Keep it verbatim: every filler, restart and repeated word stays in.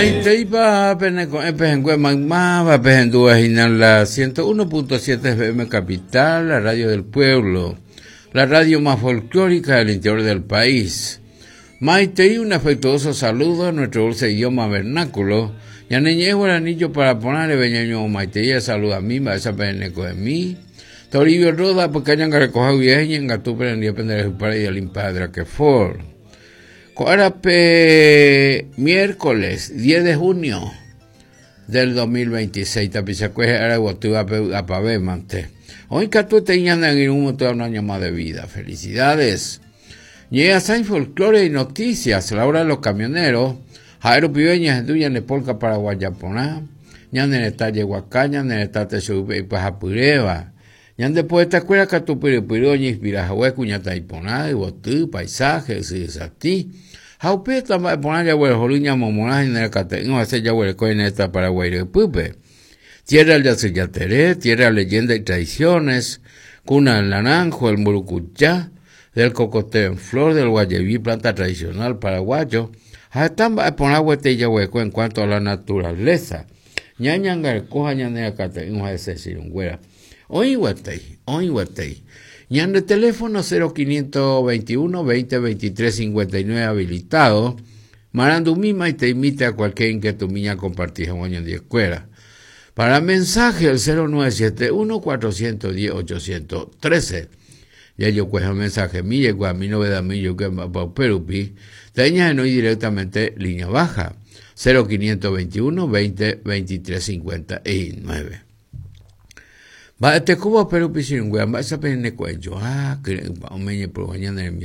Maiteipa peneko'ẽ pehẽngue maymáva pehendúva hína la ciento uno punto siete F M Capital, la radio del pueblo, la radio más folclórica del interior del país. Maitei, un afectuoso saludo a nuestro dulce idioma vernáculo. Ñaneñe guaranillo para poner beñaño maitei, saluda a mí, va esa peneco de mí. Toribio Roda, porque hayan que recoger vieja y en Gatú, pero en día pendejo para ir al impadre que for. Coarape, miércoles diez de junio del dos mil veintiséis, Tapizacueje, Araguatúa, Apave, Mante. Hoy Catú te ñandan en un montón un año más de vida. Felicidades. Llega Sain Folclore y Noticias, la hora de los camioneros. Jairo Pibeña, Genduya, Nepolca, Paraguayaponá. Ñandereta, Yehuacá, Ñandereta, Texupe y Pajapureba. Ñande poeta escuela Catupiripiro, Ñispirajahué, Cuñata y Poná, Ibotú, paisaje, Sisatí. Jaupeta, Poná, Yahuel, Joluña, Momoná, General Cateín, José Yahuel, Coineta, Paraguay, Repupe. Tierra del Yaceyateré, tierra de leyenda y tradiciones, cuna del naranjo, el murucuyá, del cocoteo en flor, del guayeví, planta tradicional paraguayo. Jatamba, Poná, Huete y Yahueco en cuanto a la naturaleza. Ñañangarcoja, Ñanea, Cateín, José Sirungüera. Hoy huetei, hoy huetei. Ñande teléfono cero quinientos veintiuno, veinte, veintitrés, cincuenta y nueve habilitado. Marandu misma y te invita a cualquier inquietud mía compartir un año de escuela. Para mensaje el cero nueve siete uno, cuatrocientos diez, ochocientos trece. Ya yo cuejo mensaje mi, llegó a mi novedad mi, yo que pa Perupi. Teña no directamente línea baja. cero quinientos veintiuno, veinte, veintitrés, cincuenta y nueve. Va este cubo pero piscina, va esa pene cuello, ah, que va un meñe por mañana en